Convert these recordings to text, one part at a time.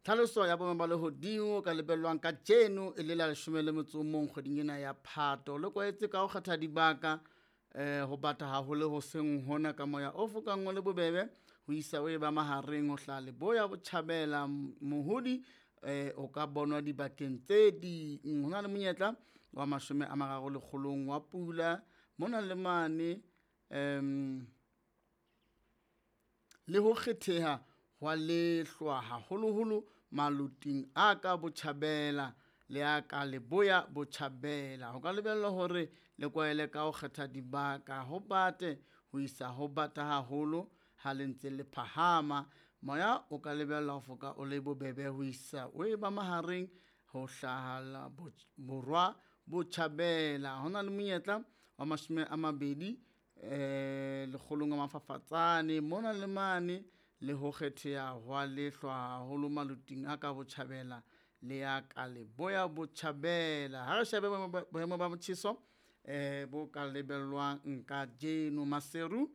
Tlhaloso ya boemo ba lehodimo ka lebellwang kajeno e le la 11 kgweding ena ya Phato. Le kwaetse ka ho kgetha dibaka ho bata haholo hoseng hona ka moya o fokang o le bobebe ho isa o e ba mahareng ho hlaha leboya botjhabela. Mohodi o ka bonwa dibakeng tse ding. Ho na le monyetla wa 30 lekgolong wa pula mona le mane, le ho kgetheha hwa lehlwa haholoholo maloting a ka botjhabela le a ka leboya botjhabela. Ho ka lebellwa hore le kwaele ka ho kgetha dibaka ho bate ho isa ho bata haholo ha le ntse le phahama. Moya o ka lebellwa ho foka o le bobebe ho isa o e ba mahareng ho hlaha borwa botjhabela. Ho na le monyetla wa 20 lekgolong a mafafatsane mona le mane, le ho kgetheha hwa lehlwa haholo maloting a ka botjhabela le a ka leboya botjhabela. Ha re shebe boemo ba motjheso bo ka lebellwang kajeno. Maseru,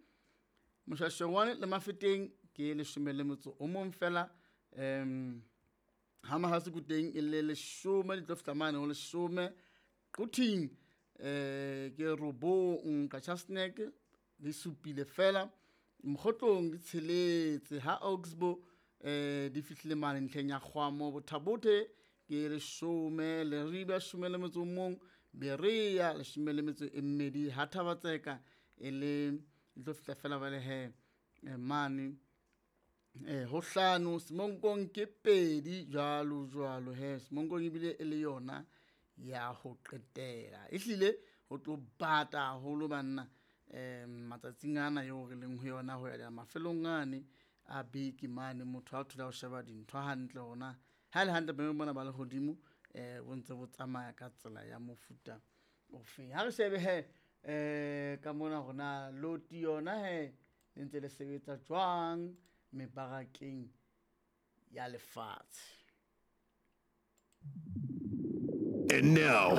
Moshweshwe le Mafeteng ke 11 feela, ha Mohale's teng e le 10, di tlo fihla mane ho 10. Quthing ke 9, Qacha's Nek di 7 feela, Mokgotlong di 6, ha Oxbow di fihlile mane ntlheng ya Kgwamo. Botha-Bothe ke 10, Leribe 11, Berea 12, ha Thaba-Tseka e le di tlo fihla fela jwale he mane ho 5, Semonkong ke 2 jwalo jwalo he. Semonkong ebile e le yona ya ho qetela. Ehlile ho tlo bata haholo banna matsatsing ana eo re leng ho yona ho ya mafelong ane a beke mane. Motho ha thola ho sheba dintho hantle hona ha ele hantle boemo bona ba lehodimo bo ntse bo tsamaya ka tsela ya mofuta ofeng. Ha re shebe he ka mona hore na loti yona he le ntse le sebetsa jwang mebarakeng ya lefatshe. And now,